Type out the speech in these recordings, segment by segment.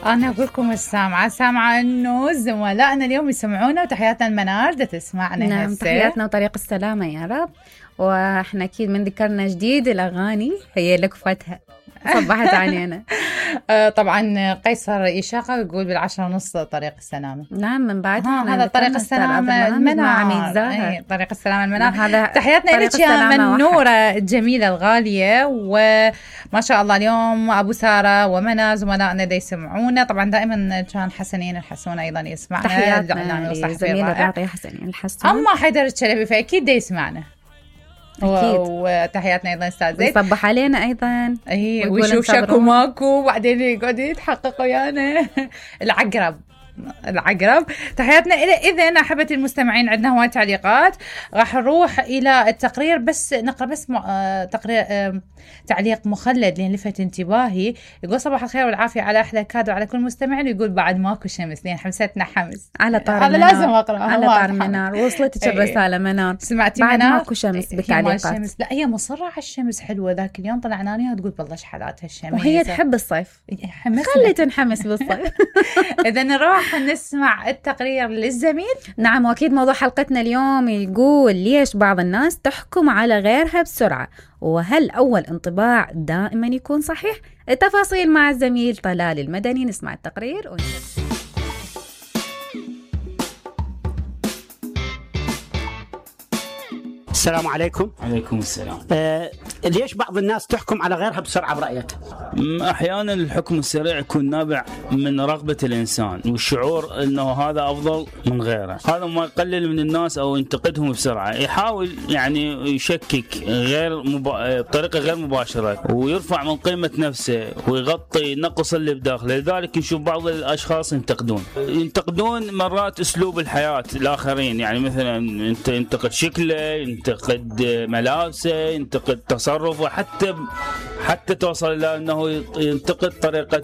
أنا أقول لكم سامعة إنه زملائنا اليوم يسمعونا، وتحياتنا المنار ده تسمعنا. نعم، تحياتنا وطريق السلامة يا رب. وإحنا أكيد من ذكرنا جديد الأغاني هي لكفتها صبحت علينا. طبعا قيصر إشاقة يقول 10:30 طريق السلامة. نعم، من بعدها هذا طريق السلامة المنار. طريق السلامة المنار. تحياتنا لك يا منورة الجميلة الغالية، وما شاء الله اليوم أبو سارة ومنى زملائنا دا يسمعونا. طبعا دائما كان حسنين الحسون أيضا يسمعنا. تحياتنا لزميلة الراقية حسنين الحسون. أما حيدر الشلبي فأكيد دا يسمعنا أكيد. وتحياتنا أيضا أستاذ زيد يصبح علينا أيضا ويشوف شكو ماكو، وبعدين يقعد يتحقق ويانا. العقرب تحياتنا إلى. إذن أحبة المستمعين عندنا هواي تعليقات، راح نروح إلى التقرير، بس نقرأ بس تقرير تعليق مخلد لين لفت انتباهي. يقول صباح الخير والعافية على أحلى كادو على كل مستمعين، ويقول بعد ماكو شمس لين حمستنا حمس على طار هذا لازم أقرأ على طار منار. وصلتك الرسالة منار؟ سمعتي بعد منار؟ ماكو شمس بالتعليقات. لا هي مصرة على الشمس حلوة. ذاك اليوم طلعنا عليها وتقول بالله شحالاتها الشمس، وهي تحب الصيف. خلي تنحمس بالصيف. إذا نروح نسمع التقرير للزميل. نعم، وأكيد موضوع حلقتنا اليوم يقول ليش بعض الناس تحكم على غيرها بسرعة، وهل أول انطباع دائما يكون صحيح؟ التفاصيل مع الزميل طلال المدني. نسمع التقرير السلام عليكم. عليكم السلام. ليش بعض الناس تحكم على غيرها بسرعة برأيك؟ أحيانا الحكم السريع يكون نابع من رغبة الإنسان والشعور أنه هذا أفضل من غيره. هذا ما يقلل من الناس أو ينتقدهم بسرعة. يحاول يعني يشكك بطريقة غير مباشرة، ويرفع من قيمة نفسه ويغطي نقص اللي بداخله. لذلك نشوف بعض الأشخاص ينتقدون مرات أسلوب الحياة الآخرين. يعني مثلا أنت ينتقد شكله، ينتقد ملابسه، ينتقد تصرفه، حتى توصل إلى أنه ينتقد طريقة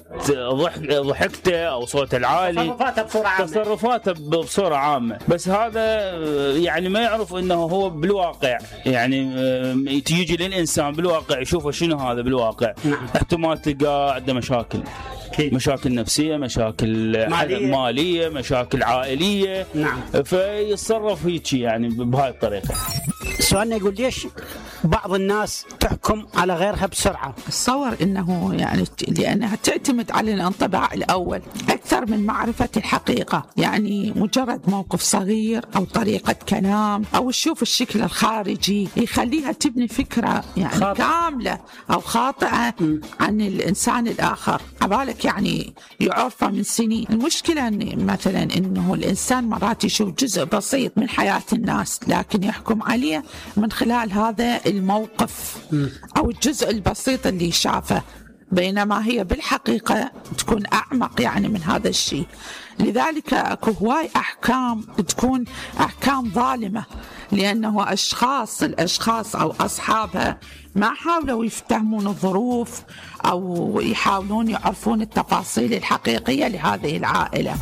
ضحكته أو صوته العالي، تصرفاته بصورة عامة. بس هذا يعني ما يعرف أنه هو بالواقع، يعني تيجي للإنسان بالواقع يشوفه شنو هذا بالواقع. احتمال تلقى عنده مشاكل نفسية، مشاكل مالية، مشاكل عائلية. فيتصرف هيك يعني بهاي الطريقة. سؤالنا يقول ليش بعض الناس تحكم على غيرها بسرعة؟ أتصور أنه يعني لأنها تعتمد على الانطباع الأول أكثر من معرفة الحقيقة. يعني مجرد موقف صغير أو طريقة كلام أو تشوف الشكل الخارجي يخليها تبني فكرة يعني كاملة أو خاطئة عن الإنسان الآخر عبالك يعني يعرفه من سنين. المشكلة إن مثلا إنه الإنسان مرات يشوف جزء بسيط من حياة الناس لكن يحكم عليه من خلال هذا الموقف أو الجزء البسيط اللي شافه، بينما هي بالحقيقة تكون أعمق يعني من هذا الشيء. لذلك أكو هواي أحكام تكون أحكام ظالمة، لأنه الأشخاص أو أصحابها ما حاولوا يفتهمون الظروف أو يحاولون يعرفون التفاصيل الحقيقية لهذه العائلة.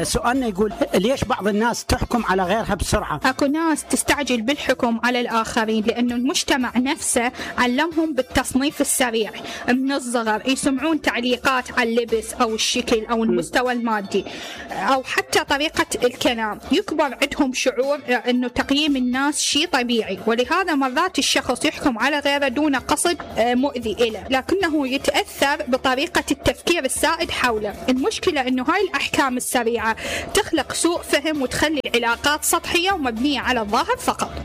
سؤالنا يقول ليش بعض الناس تحكم على غيرها بسرعة؟ أكو ناس تستعجل بالحكم على الآخرين لأنه المجتمع نفسه علمهم بالتصنيف السريع من الصغر. يسمعون تعليقات على اللبس أو الشكل أو المستوى المادي أو حتى طريقة الكلام. يكبر عندهم شعور أنه تقييم الناس شيء طبيعي، ولهذا مرات الشخص يحكم على غيره دون قصد مؤذي له، لكنه يتأثر بطريقة التفكير السائد حوله. المشكلة أنه هاي الأحكام السريعة تخلق سوء فهم وتخلي العلاقات سطحية ومبنية على الظاهر فقط.